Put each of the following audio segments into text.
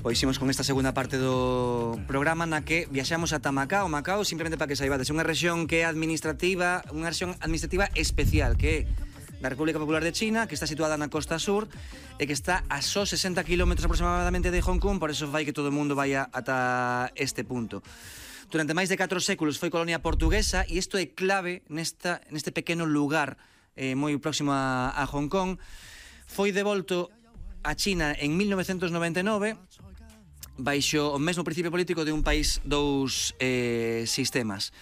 Pois imos con esta segunda parte do programa na que viaxamos ata Macao. Macao, simplemente para que saibades, é unha rexión que é administrativa, unha rexión administrativa especial que é da República Popular de China, que está situada na costa sur e que está a só 60 km aproximadamente de Hong Kong, por eso fai que todo o mundo vaya ata este punto. Durante máis de 4 séculos foi colonia portuguesa e isto é clave neste pequeno lugar moi próximo a Hong Kong. Foi devolto a China en 1999 baixo o mesmo principio político de un país dous sistemas.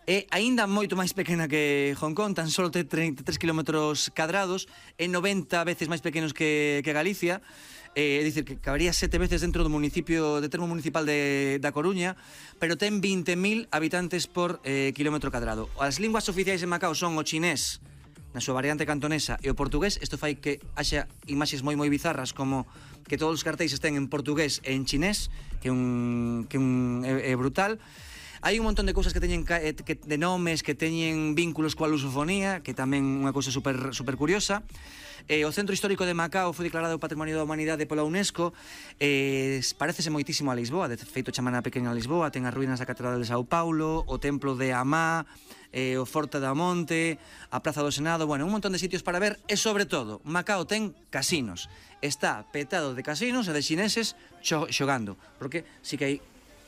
É aínda moito máis pequena que Hong Kong, tan só ten 33 km cadrados, é 90 veces máis pequenos que Galicia, é dicir, que cabería 7 veces dentro do municipio de termo municipal da Coruña, pero ten 20.000 habitantes por kilómetro cadrado. As linguas oficiais en Macao son o chinés, na súa variante cantonesa, e o portugués. Isto fai que haxa imaxes moi bizarras, como que todos os cartéis estén en portugués e en chinés, que é brutal. Hai un montón de cousas que teñen de nomes que teñen vínculos coa lusofonía, que tamén unha cousa super curiosa. O Centro Histórico de Macao foi declarado Patrimonio da Humanidade pola UNESCO. Parécese moitísimo a Lisboa, de feito chaman a pequena Lisboa. Ten as ruínas da Catedral de Sao Paulo, o Templo de Amá, o Forte da Monte, a Praza do Senado, bueno, un montón de sitios para ver. E sobre todo, Macao ten casinos. Está petado de casinos e de chineses xogando, porque si que hai,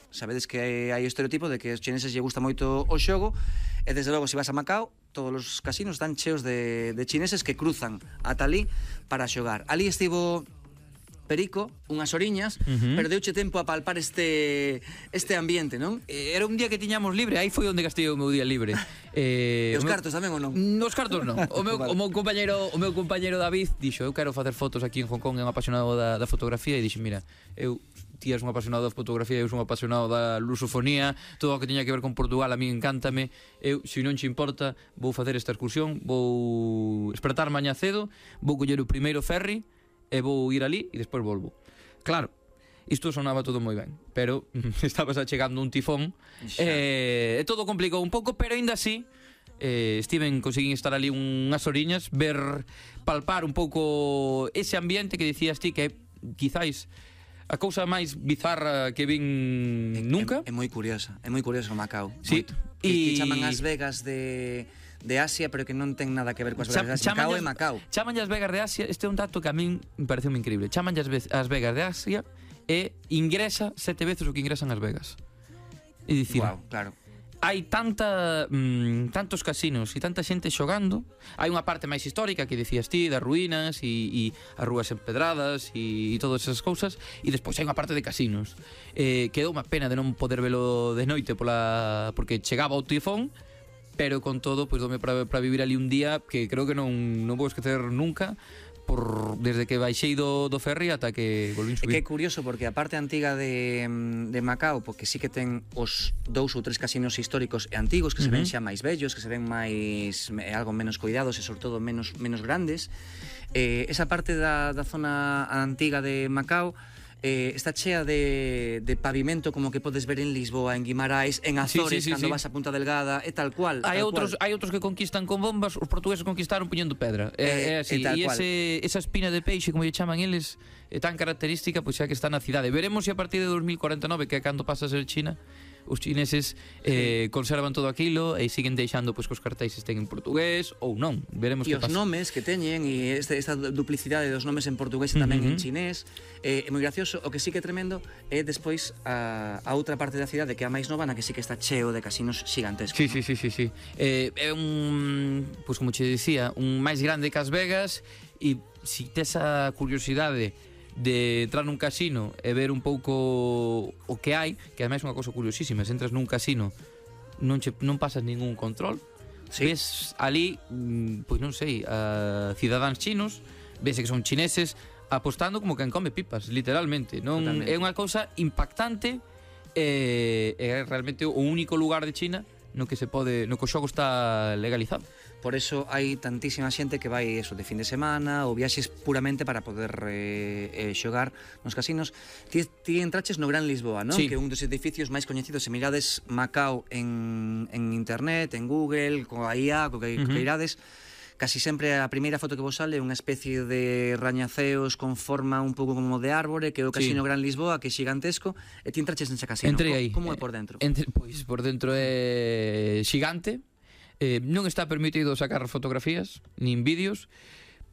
sabedes que hai o estereotipo de que os chineses lle gusta moito o xogo, e desde logo, se vas a Macao, todos os casinos están cheos de chineses que cruzan ata ali para xogar. Ali estivo Perico, unhas oriñas, pero deuche tempo a palpar este ambiente, non? Era un día que tiñamos libre, aí foi onde gastei o meu día libre. E os cartos tamén ou non? Os cartos non. O meu compañeiro David dixo, eu quero facer fotos aquí en Hong Kong, é un apasionado da fotografía, e dixo, mira, ti és un apasionado da fotografía, eu sou un apasionado da lusofonía, todo o que teña que ver con Portugal a mí encántame. Eu, se non che importa, vou facer esta excursión, vou despertar mañá cedo, vou coller o primeiro ferry e vou ir ali e despois volvo. Claro, isto sonaba todo moi ben, pero estabas achegando un tifón e todo complicou un pouco, pero aínda así conseguín estar ali unhas oriñas, palpar un pouco ese ambiente que dicías ti, que quizáis a cousa máis bizarra que vin nunca. É moi curiosa Macao. Sí. Que chaman as Vegas de Asia, pero que non ten nada que ver coas Vegas de Asia. Macao é Macao. Chamanlle as Vegas de Asia, este é un dato que a min me pareceu increíble. Chamanlle as Vegas de Asia e ingresa 7 veces o que ingresan as Vegas. É dicir, wow, claro. Hai tantos casinos e tanta xente xogando. Hai unha parte máis histórica que dicías ti, das ruínas e as rúas empedradas e todas esas cousas, e despois hai unha parte de casinos. Quedou unha pena de non poder velo de noite porque chegaba o tifón, pero con todo, pois dome para vivir ali un día que creo que non vou esquecer nunca, desde que baixei do ferry ata que volvín subir. É que é curioso porque a parte antiga de Macao, porque sí que ten os 2 ou 3 casinos históricos e antigos que se ven xa máis bellos, que se ven máis algo menos cuidados e sobre todo menos grandes. Esa parte da zona antiga de Macao está chea de pavimento, como que podes ver en Lisboa, en Guimarães, en Azores, cando vas a Punta Delgada, é tal cual. Hai outros que conquistan con bombas, os portugueses conquistaron puñendo pedra. É así, e esa espina de peixe, como lle chaman eles, é tan característica, pois xa que está na cidade. Veremos se a partir de 2049, que é cando pasa a ser China, os chineses conservan todo aquilo e siguen deixando pois que os cartéis estén en portugués ou non. Veremos que pasa. E os nomes que teñen e esta duplicidade dos nomes en portugués e tamén en chinés é moi gracioso. O que sí que é tremendo é despois a outra parte da cidade, que é a máis nova, na que sí que está cheo de casinos xigantescos. Sí. É pois como che dicía, un máis grande que As Vegas, e si tes a curiosidade de entrar nun casino e ver un pouco o que hai, que ademais é unha cousa curiosísima, se entras nun casino non pasas ningún control, ves ali, pois non sei, a cidadáns chinos, ves que son chineses apostando como quen come pipas, literalmente. Non é unha cousa impactante, é realmente o único lugar de China no que o xogo está legalizado. Por eso hai tantísima xente que vai eso de fin de semana ou viaxes puramente para poder xogar nos casinos. Ti entraches no Gran Lisboa, non? Que é un dos edificios máis coñecidos. Se mirades Macao en internet, en Google, coa IA, co que irades, casi sempre a primeira foto que vos sale é unha especie de rañaceos con forma un pouco como de árbore, que é o Casino Gran Lisboa, que é xigantesco, e ti entraches nese casino. Entrei aí. Como é por dentro? Pois por dentro é xigante, non está permitido sacar fotografías nin vídeos.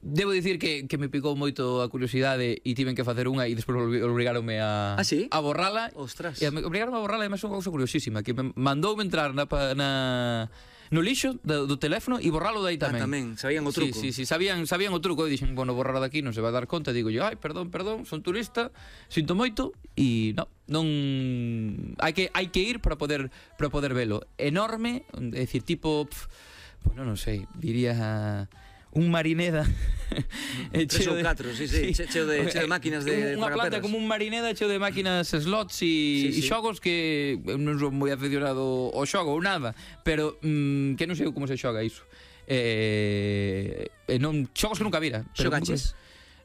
Debo dicir que me picou moito a curiosidade e tiven que facer unha e despois obrigaronme a borrala. Ostras. E obrigaronme a borrala, e máis unha cousa curiosísima, que me mandoume entrar no lixo do teléfono e borralo dai tamén. Tamén, sabían o truco. Sí, sabían o truco. E dixen, bueno, borrar daqui non se vai dar conta. Digo yo, perdón, son turista, sinto moito. E non hai que ir para poder velo. Enorme, é dicir, tipo, pues non sei, diría un Marineda cheo de máquinas de unha planta como un Marineda cheo de máquinas slots e xogos que non son moi aficionado ao xogo ou nada, pero que non sei como se xoga iso. Xogos que nunca vira. Xogaches?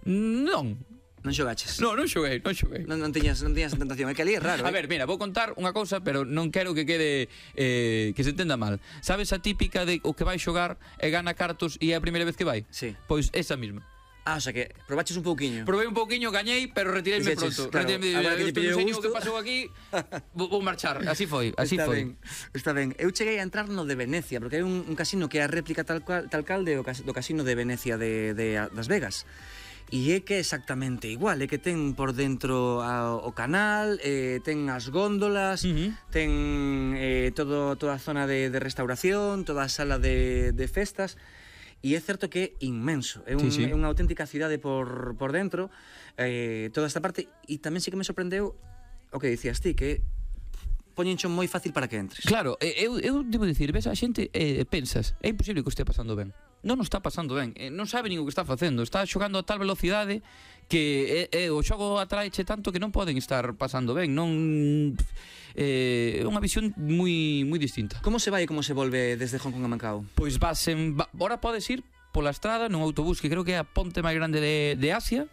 Non xogaches? Non xoguei. Non tiñas a tentación, é que ali é raro. A ver, mira, vou contar unha cousa, pero non quero que quede que se entenda mal. Sabes a típica de o que vai xogar e gana cartos e é a primeira vez que vai? Sí. Pois esa mesma. O sea que probaches un pouquiño. Provei un pouquiño, gañei, pero retireime pronto. Agora que te pillou o que pasou aquí, vou marchar. Así foi. Está ben. Eu cheguei a entrar no de Venecia, porque hai un casino que é a réplica tal cal do casino de Venecia de Las Vegas. E é que é exactamente igual, é que ten por dentro o canal, ten as góndolas, ten toda a zona de restauración, toda a sala de festas, e é certo que é inmenso, é unha auténtica cidade por dentro, toda esta parte, e tamén sí que me sorprendeu o que dicías ti, que poñencho moi fácil para que entres. Claro, eu debo dicir, ves a xente, pensas, é imposible que o estea pasando ben. Non o está pasando ben, non sabe nin o que está facendo, está xogando a tal velocidade que o xogo atraeche tanto que non poden estar pasando ben, non é unha visión moi distinta. Como se vai e como se volve desde Hong Kong a Macao? Pois ahora podes ir pola estrada nun autobús que creo que é a ponte máis grande de Asia.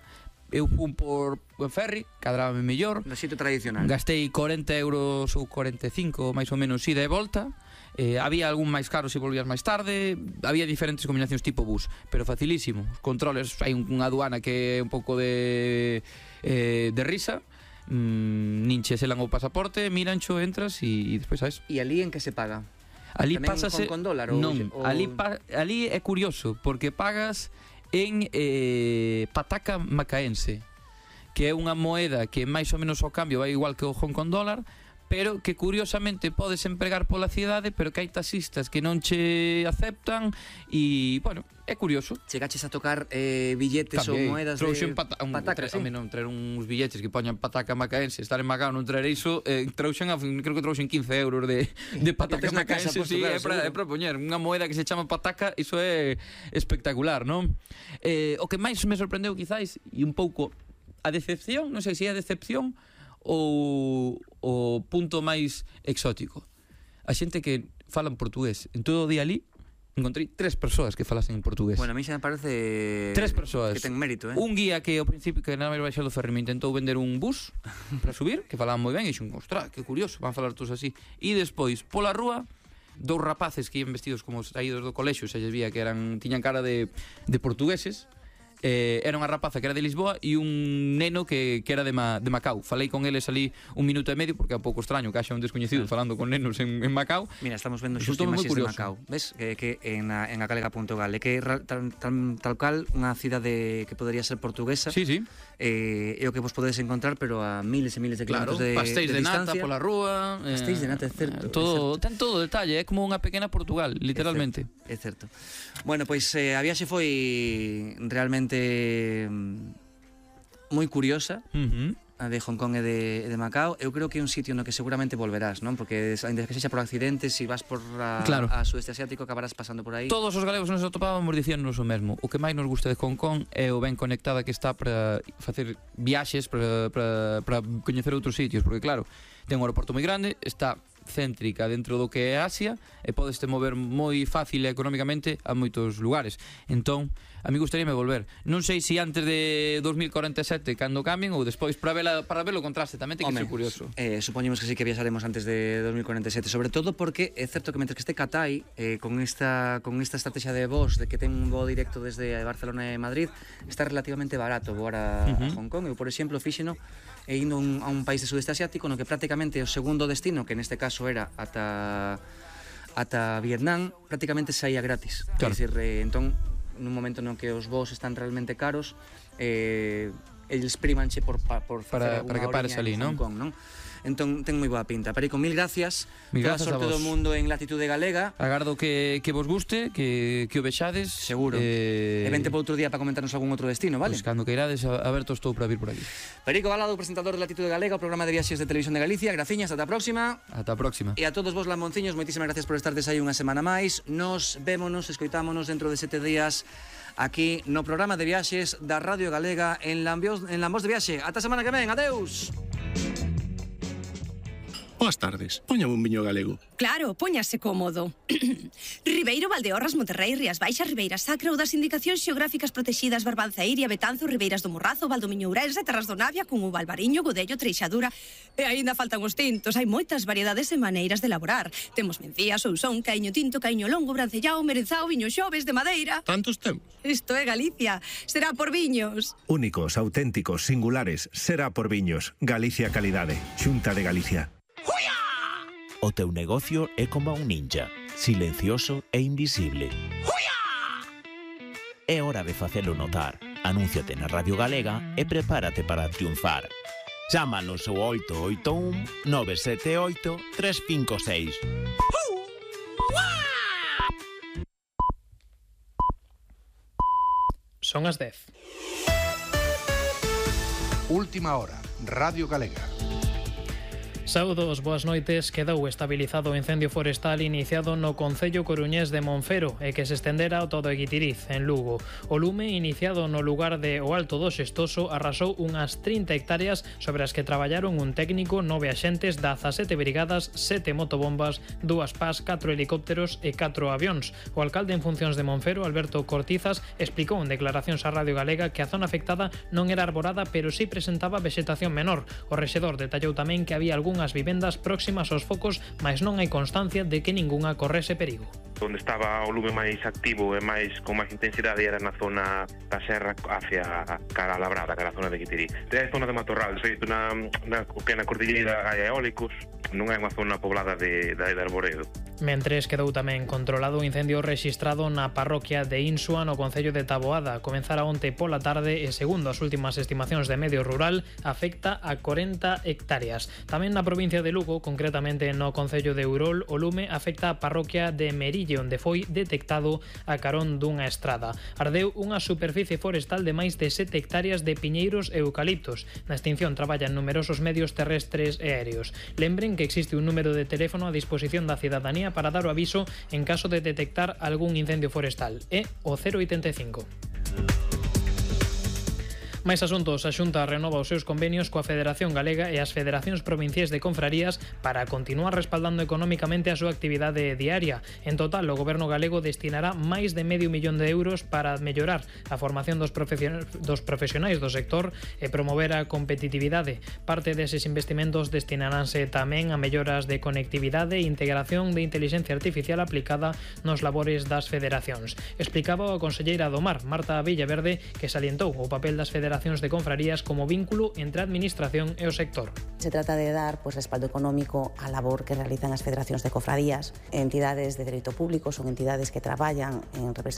Eu fui por ferry, cadrábame mellor. No sitio tradicional. Gastei 40 euros ou 45 máis ou menos ida e volta. Había algún máis caro se volvías máis tarde. Había diferentes combinacións tipo bus, pero facilísimo. Os controles, hai unha aduana que é un pouco de risa. Nin che selan o pasaporte, mirancho, entras e despois sabes. E ali en que se paga? Ali pásase con dólar? Non, ali é curioso porque pagas en pataca macaense, que é unha moeda que máis ou menos ao cambio vai igual que o Hong Kong dólar, pero que curiosamente podes empregar pola cidade, pero que hai taxistas que non che aceptan e, bueno, é curioso. Chegaches a tocar billetes ou moedas de pataca, sí? Non traer uns billetes que poñan pataca macaense, estar en Macao non traer iso, creo que trouxen 15 euros de pataca macaense, sí, é para poñer unha moeda que se chama pataca, iso é espectacular, non? O que máis me sorprendeu quizás, e un pouco a decepción, non sei se é a decepción ou o punto máis exótico, a xente que falan portugués. En todo o día ali encontrei 3 persoas que falasen en portugués. Bueno, a mí xa me parece 3 persoas que ten mérito, Un guía que ao principio que nada máis baixar do ferry me intentou vender un bus para subir, que falaban moi ben, e dixen, ostras, que curioso, van falar todos así. E despois, pola rúa, 2 rapaces que iban vestidos como saídos do colexio, se lles vía que tiñan cara de portugueses. Era unha rapaza que era de Lisboa e un neno que era de Macao. Falei con eles ali 1 minuto e medio, porque é un pouco extraño que haxa un descoñecido falando con nenos en Macao. Mira, estamos vendo xusto imaxes de Macao. Ves que en acalega.gal é que tal cal unha cidade que podería ser portuguesa. Sí. É o que vos podedes encontrar, pero a miles e miles de kilómetros de pastéis de nata distancia. pola rúa. Pastéis de nata, é certo. Ten todo o detalle, é como unha pequena Portugal, literalmente. É certo. Bueno, pois a viaxe foi realmente moi curiosa, a de Hong Kong e de Macao. Eu creo que é un sitio no que seguramente volverás, non? Porque ainda que sexa por accidentes, se vas por a sudeste asiático acabarás pasando por aí. Todos os galegos nos atopábamos dicíanos o mesmo. O que máis nos gusta de Hong Kong é o ben conectada que está para facer viaxes, para coñecer outros sitios, porque claro, ten un aeroporto moi grande, está céntrica dentro do que é Asia e podeste mover moi fácil e económicamente a moitos lugares. Entón, a mí gustaríame volver. Non sei se antes de 2047 cando cambien ou despois para ver o contraste, tamén ten que ser curioso. Supoñemos que sí que viaxaremos antes de 2047, sobre todo porque é certo que mentre que este Qatai con esta estrategia de voos de que ten un voo directo desde Barcelona e Madrid, está relativamente barato voar a Hong Kong. Eu, por exemplo, fíxeno indo a un país de sudeste asiático no que prácticamente o segundo destino, que neste caso era ata Vietnam, prácticamente saía gratis. Claro. É dicir, entón, nun momento no que os voos están realmente caros, eles primanche por para que pares ali, non? Hong Kong, non? Entón, ten moi boa pinta. Perico, mil gracias. Toda a sorte do mundo en Latitude Galega. Agardo que vos guste, que o vexades. Seguro. E vente por outro día para comentarnos algún outro destino, vale? Pois cando que irades, aberto estou para vir por aquí. Perico Balado, presentador de Latitude Galega, o programa de viaxes de Televisión de Galicia. Graciñas, ata a próxima. Ata a próxima. E a todos vos lamonciños, moitísimas gracias por estardes aí unha semana máis. Nos vémonos, escoitámonos dentro de 7 días aquí no programa de viaxes da Radio Galega en Lambos de Viaxe. Ata a semana que ven, adeus. Boas tardes, póñame un viño galego. Claro, póñase cómodo. Ribeiro, Valdeorras, Monterrey, Rías Baixas, Ribeira Sacra ou das indicacións xeográficas protexidas Barbanza Iria, Betanzo, Ribeiras do Morrazo, Valdomiño Ourense, Terras do Navia, Cunha, Albariño, Godello, Treixadura. E aínda faltan os tintos, hai moitas variedades e maneiras de elaborar. Temos mencía, sousón, caiño tinto, caiño longo, brancellao, merenzao, viño xoves de madeira. Tantos temos? Isto é Galicia, será por viños. Únicos, auténticos, singulares, será por viños. Galicia Calidade, Xunta de Galicia. O teu negocio é como un ninja, silencioso e invisible. É hora de facelo notar. Anúnciate na Radio Galega e prepárate para triunfar. Chámanos ao 881 978 356. Son as 10. Última hora, Radio Galega. Saúdos, boas noites. Quedou estabilizado o incendio forestal iniciado no concello coruñés de Monfero e que se estendera ao todo Guitiriz, en Lugo. O lume, iniciado no lugar de O Alto do Xestoso, arrasou unhas 30 hectáreas sobre as que traballaron un técnico, 9 axentes, 17 brigadas, 7 motobombas, 2 PAS, 4 helicópteros e 4 avións. O alcalde en funcións de Monfero, Alberto Cortizas, explicou en declaracións á Radio Galega que a zona afectada non era arborada, pero sí presentaba vexetación menor. O rexedor detallou tamén que había algunhas vivendas próximas aos focos, mas non hai constancia de que ningunha correse perigo. Onde estaba o lume máis activo e con máis intensidade era na zona da serra hacia cara a Labrada, cara a zona de Guitiriz. É a zona de matorral, feito na pequena cordilleira hai eólicos, non é unha zona poblada de arboredo. Mentres quedou tamén controlado o incendio rexistrado na parroquia de Insua, no concello de Taboada. Comenzara onte pola tarde e, segundo as últimas estimacións de Medio Rural, afecta a 40 hectáreas. Tamén na provincia de Lugo, concretamente no concello de Urol, o lume afecta a parroquia de Merille, onde foi detectado a carón dunha estrada. Ardeu unha superficie forestal de máis de 7 hectáreas de piñeiros e eucaliptos. Na extinción traballan numerosos medios terrestres e aéreos. Lembren que existe un número de teléfono a disposición da cidadanía para dar o aviso en caso de detectar algún incendio forestal. É o 085. Máis asuntos, a Xunta renova os seus convenios coa Federación Galega e as Federacións Provinciais de Confrarías para continuar respaldando económicamente a súa actividade diaria. En total, o Goberno galego destinará máis de medio millón de euros para mellorar a formación dos profesionais do sector e promover a competitividade. Parte deses investimentos destinaránse tamén a melloras de conectividade e integración de inteligencia artificial aplicada nos labores das federacións. Explicaba a conselleira do Mar, Marta Villaverde, que salientou o papel das federacións de confrarías como vínculo entre a administración e o sector. Se trata de dar respaldo económico á labor que realizan as federacións de cofradías. Entidades de dereito público son entidades que traballan en representación